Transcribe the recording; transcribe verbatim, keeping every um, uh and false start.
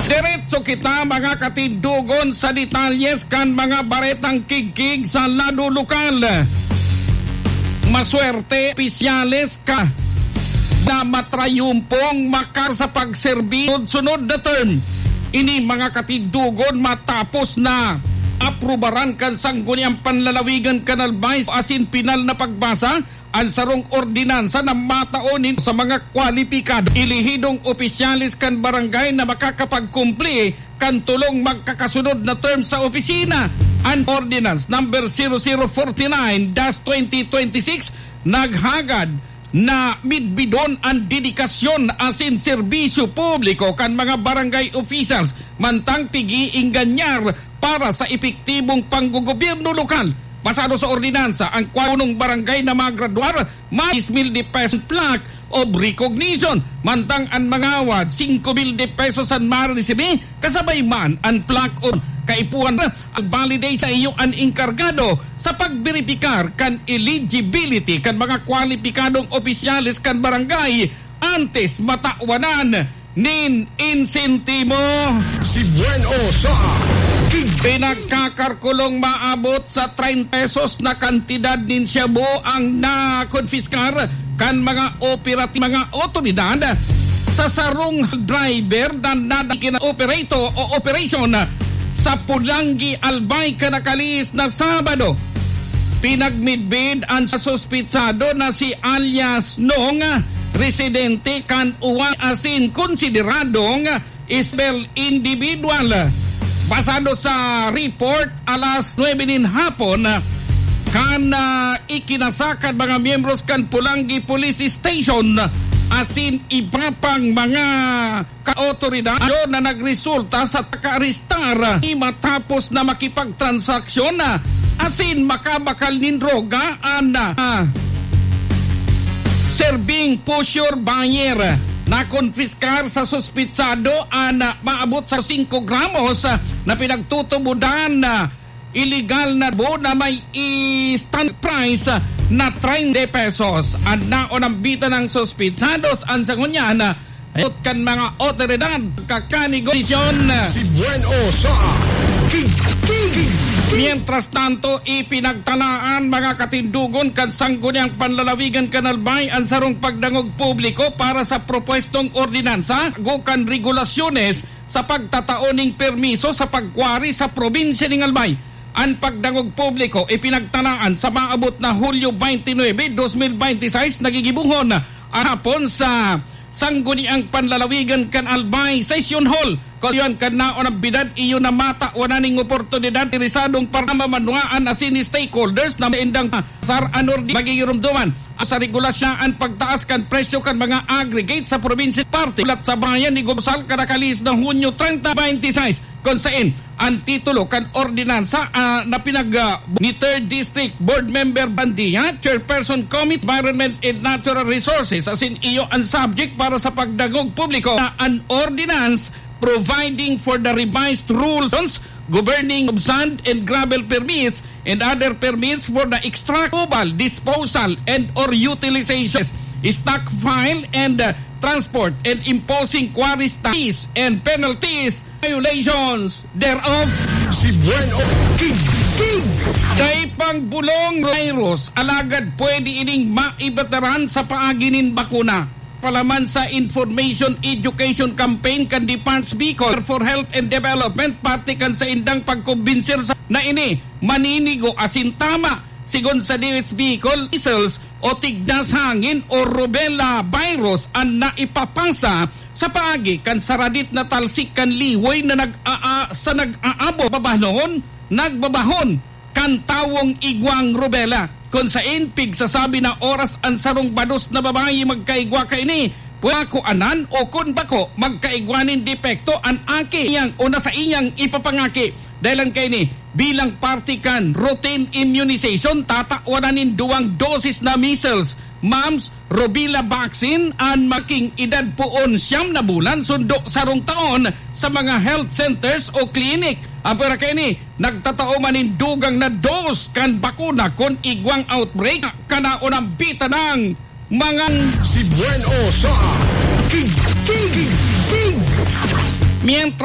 Diretso kita, mga katindogon, sa detalyes kan mga baretang kigkig sa lado lokal. Maswerte, opisyales ka na matrayumpong makar sa pagserbi sunod na term. Ini, mga katindogon, matapos na aprubaran kan Sangguniang Panlalawigan kan Albay asin pinal na pagbasa an sarong ordinansa na matao nin sa mga kwalipikado, elehidong opisyales kan barangay na makakapagkumpli kan tolong magkakasunod na term sa opisina. An Ordinance Number zero zero forty nine dash twenty twenty-six naghagad na midbidon an dedikasyon asin serbisyo publiko kan mga barangay officials mantang pig-iinganyar para sa epektibong panggogobyerno lokal. Basado sa ordinansa, ang kwaunong barangay na magradwar, may diyes mil de pesos plaque of recognition, mantang an mangawad, singko mil de pesos an maresibi, kasabay man an plaque of kaipuhan. Ang validate sa iyo an enkargado sa pagberipikar kan eligibility kan mga kwalipikadong opisyales kan barangay antes matawanan nin insentibo. Si Buen O sa Kig- Pinagkakarkulong maabot sa treinta pesos na kantidad nin shabu ang nakonfiskar kan mga operati-, mga otoridad sa sarong driver na nadakina operato o operasyon sa Pulanggi, Albay, kan nakalihis na Sabado. Pinagmidbid an suspitsado na si alias Nong, residente kan Uwan asin konsideradong isbel individual. Basado sa report, alas nuebe nin hapon, kan, ah, ikinasaka mga miyembros kan Pulanggi Police Station asin iba pang mga kaotoridad na nagresulta sa pag-arestar matapos na makipagtransaksyon na asin makabakal nin droga an, ah, serbing pusher buyer. Nakonfiskar sa suspitsado an, ah, maabot sa singko gramos, ah, na pinagtutubodan na iligal na shabu na may standard price na treinta pesos. An naonambitan ng suspitsados an sangunyan, ah, ayot kan mga otoridad kakanegosasyon. Si Buen O sa Kig-, Kig-, Kig-, Mientras tanto, ipinagtalaan mga katindogon kan Sangguniang Panlalawigan kan Albay an sarong pagdangog publiko para sa propwestong ordinansa o kan regulasyones sa pagtatao ning permiso sa pagkwari sa probinsya ning Albay. An pagdangog publiko ipinagtalaan sa maabot na Hulyo twenty-nine, twenty twenty-six, na gigibohon hapon sa Sangguniang Panlalawigan kan Albay Session Hall. Kon iyan kan naon ang bidad, iyo na matawan na ning oportunidad, interesadong para mamanwaan asin stakeholders na maindang sar anor di magigirumduman sa regulasyon an pagtaas kan presyo kan mga aggregate sa probinsya, parte ulat sa bayan ni Gobsal, kadakalihis na Hunyo treinta, twenty twenty-six, kun sain an titulo kan ordinansa, ah, na pinag, ah, ni Third District Board Member Bandia, Chairperson Committee Environment and Natural Resources, asin iyo an subject para sa pagdangog publiko na an ordinance providing for the revised rules governing of sand and gravel permits and other permits for the extract, removal, disposal, and or utilization, stockpile, and, uh, transport, and imposing quarries taxes and penalties, violations thereof. Si Buen O Kig-, Kig-, Dai pang bulong virus, alagad pwede ining maibataran sa paagi nin bakuna. Palaman sa information education campaign kan Department Bicol for Health and Development, parte kan saindang pagkombinsir sa na ini maninigo asin tama, sigon sa D O H Bicol, measles o tignas hangin o rubella virus an naipapasa sa paagi kan saradit na talsik kan liwoy na nag-aa-, sa nag-aabo babahon, nagbabahon kan tawong igwang rubella, kun sain pigsasabi na oras an sarong bados na babayi magkaigwa kaini, pwede kuanan o kun bako, magkaigwa nin depekto an aki niyang o na saiyang ipapangaki. Dahil lang kaini, bilang parte kan routine immunization, tatawan na nin duwang dosis na measles, mumps, rubella vaccine an making edad poon siyam na bulan sundo sarong taon sa mga health centers o clinic. Apwera kaini, nagtatao man nin dugang na dose kan bakuna kun igwang outbreak, kanaon ang bita ng mga Si Buen O sa Kig-, Kig-, Kig-, Mientras